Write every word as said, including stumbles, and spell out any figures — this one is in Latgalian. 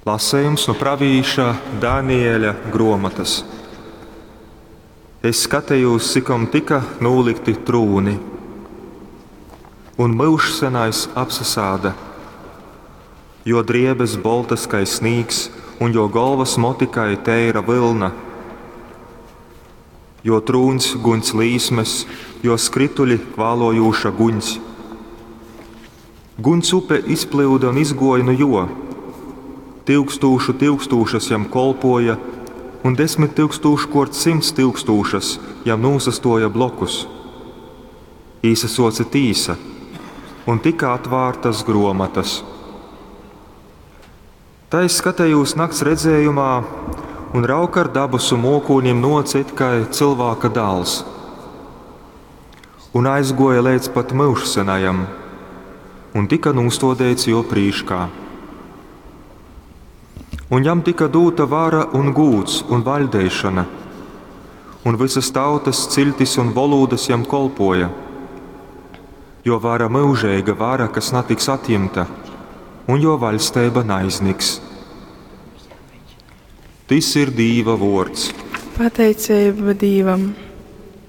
Lasejums nu pravīša Danieļa gruomotys. Es skatejūs, cikom tyka nūlykti trūni, un Myužsenais apsasāda. Jō driebes boltas kai snīgs, un jō golvas moti kai teira vylna. Jō trūņs guņs līsmes, jō skrytuļi kvālojūša guņs. Guņs upe izplyuda un izgōja nu jō. Tyukstūšu tyukstūšas jam kolpōja un desmit tyukstūškōrt symts tyukstūšas jam nūsastōja blokus. Īsasōce tīsa, un tyka atvārtas grōmotas. Tai es skatejūs nakts redzējumā, un raug, ar dabasu mōkūnim nōce it kai Cylvāka Dāls un aizgōja leidz pat Myužsenajam un tyka nūstōdeits jō prīškā. Un jam tyka dūta vara un gūds un vaļdeišona, un vysas tautas, ciļtis un volūdas jam kolpōja. Jō vara myužeiga vara, kas natiks atjimta, un jō vaļsteiba naizniks. Tys ir Dīva vōrds. Pateiceiba Dīvam.